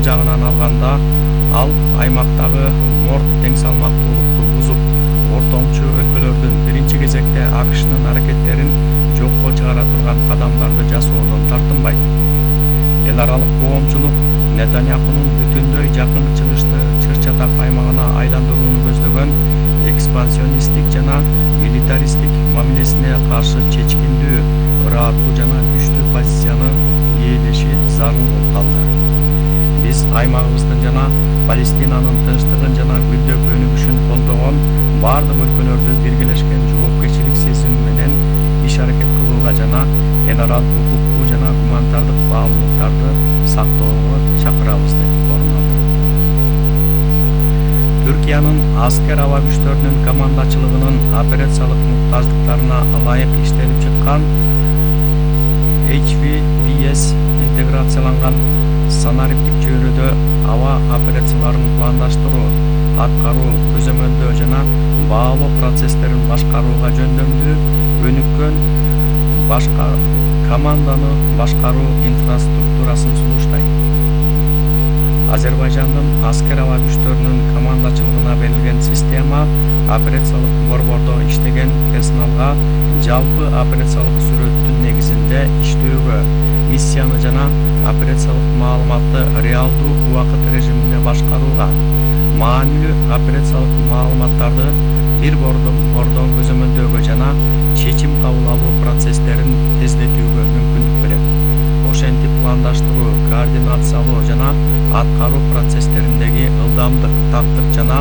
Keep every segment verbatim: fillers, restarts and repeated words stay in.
жагынан алганда, ал аймактагы морд тең салмактуулукту бузуп, ортомчу өлкөлөрдүн биринчи кезекте АКШнын аракеттерин жокко чыгара турган кадамдарды жасоодон тартынбайт. Эл аралык коомчулук Нетаньяхунун бүтүндөй Жакын Чыгышты чыр-чатак аймагына айландырууну көздөгөн экспансионисттик жана милитаристтик мамилесине каршы чечкиндүү, ырааттуу жана күчтүү позицияны ээлеши зарыл болуп калды. Биз аймагыбыздын жана Палестинанын тынчтыгын жана гүлдөп өнүгүшүн колдогон бардык өлкөлөрдү биргелешкен жоопкерчилик сезими менен иш аракет кылууга жана эл аралык укуктуу жана гуманитардык баалуулуктарды сактоого чакырабыз деп орун алды. Түркиянын аскер аба күчтөрүнүн командачылыгынын операциялык муктаждыктарына ылайык иштелип чыккан эйч ви би эс интеграцияланган санариптик чөйрөдө аба операцияларын пландаштыруу, аткаруу, көзөмөлдөө жана баалоо процесстерин башкарууга жөндөмдүү, өнүккөн башка команданы башкаруу инфраструктурасын сунуштайт. Азербайжандын аскер аба күчтөрүнүн командачылыгына берилген система операциялык борбордо иштеген персоналга жалпы операциялык сүрөттүн негизинде иштөөгө, миссияны жана операциялык маалыматты реалдуу убакыт режиминде башкарууга, маанилүү операциялык маалыматтарды бир бордон көзөмөлдөөгө жана чечим кабыл алуу процесстерин тездетүүгө мүмкүндүк берет. Ошентип пландаштыруу, координациялоо жана аткаруу процесстериндеги ылдамдык, тактык жана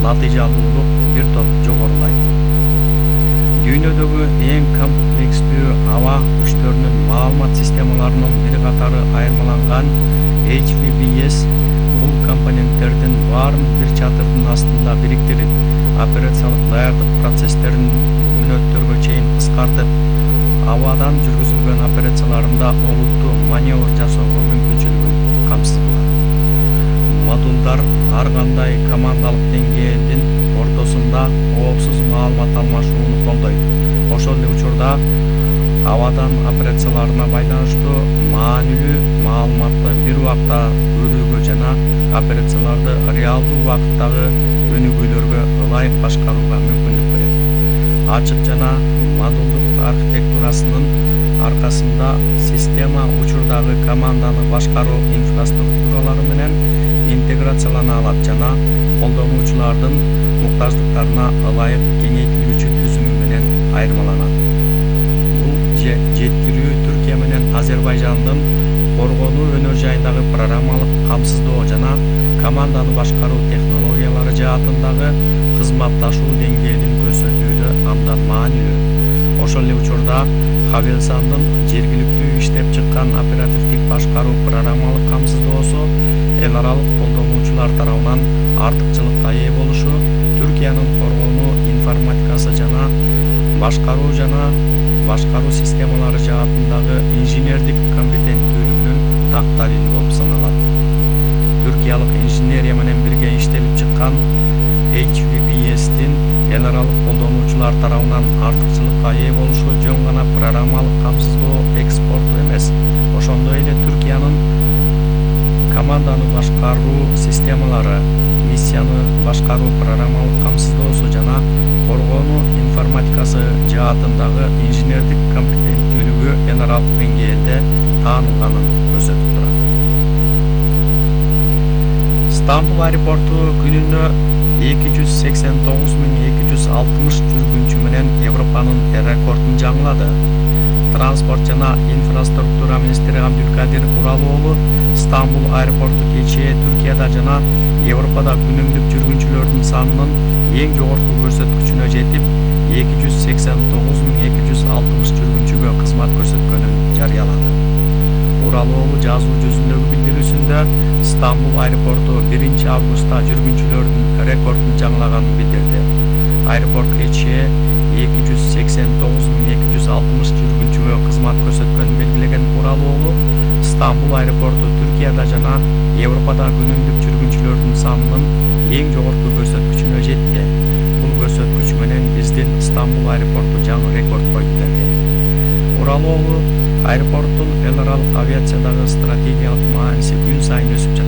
натыйжалуулук бир топ жогорулайт. Дүйнөдөгү эң комплекстүү аба күчтөрүнүн маалымат системаларынын бир катары айырмаланган эйч ви би эс бул компоненттердин баарын бир чатырдын астында бириктирип, операциялык даярдык процесстерин мүнөттөргө чейин кыскартып, абадан жүргүзүлгөн операцияларында олуттуу маневр жасоого мүмкүнчүлүгүн камсыз кылат. Модулдар ар кандай командалык деңгээлдин ортосунда коопсуз маалымат алмашууну колдойт. Ошол эле учурда абадан операцияларына байланыштуу маанилүү маалыматты бир убакта көрүүгө жана операцияларды реалдуу убакыттагы өнүгүүлөргө ылайык башкарууга мүмкүндүк берет. Ачык жана модулдук архитектурасынын аркасында система учурдагы команданы башкаруу инфраструктуралары менен интеграциялана алат жана колдонуучулардын муктаждыктарына ылайык кеңейтилүүчү түзүмү менен айырмаланат. Бул жеткирүү Түркия менен Азербайжандын коргонуу өнөр жайындагы программалык камсыздоо жана команданы башкаруу технологиялары жаатындагы кызматташуу деңгээлин көрсөтүүдө абдан маанилүү. Ошол эле учурда Хавелсандын жергиликтүү иштеп чыккан оперативдик башкаруу программалык камсыздоосу эл аралык колдонуучулар тарабынан артыкчылыкка ээ болушу Түркиянын коргонуу информатикасы жана башкаруу жана башкаруу системалары жаатындагы инженердик компетенттүүлүгүнүн так далили болуп саналат. Түркиялык инженерия менен бирге иштелип чыккан эйч ви би эстин эл аралык колдонуучулар тарабынан артыкчылыкка ээ болушу жөн гана программалык камсыздоо экспорту эмес, ошондой эле Түркиянын команданы башкаруу системалары, миссияны башкаруу программалык камсыздоосу жана коргонуу информатикасы жаатындагы инженердик компетенттүүлүгү эл аралык деңгээлде таанылганын көрсөтүп турат. Стамбул аэропорту күнүнө эки жүз сексен тогуз миң эки жүз алтымыш жүргүнчү менен Европанын рекордун жаңылады. Транспорт жана инфраструктура министри Абдулкадир Уралоğlu Стамбул аэропорту кечээ Түркияда жана Европада күнүмдүк жүргүнчүлөрдүн санынын эң жогорку көрсөткүчүнө жетип, эки жүз сексен тогуз миң эки жүз алтымыш жүргүнчүгө кызмат көрсөткөнүн жарыялады. Уралоğlu жазуу жүзүндөгү билдирүүсүндө Стамбул аэропорту биринчи августта жүргүнчүлөрдүн рекордун жаңылаганын билдирди. Аэропорт кечээ эки жүз сексен тогуз миң эки жүз алтымыш жүргүнчүгө кызмат көрсөткөнүн белгилеген Уралоğlu Стамбул аэропорту Түркияда жана Европада күнүмдүк жүргүнчүлөрдүн санынын эң жогорку көрсөткүчүнө жетти. Бул көрсөткүч менен биздин Стамбул аэропорту жаңы рекорд койду деди. Уралоğlu аэропорттун эл аралык авиациядагы стратегиялык мааниси күн сайын өсүп жатат.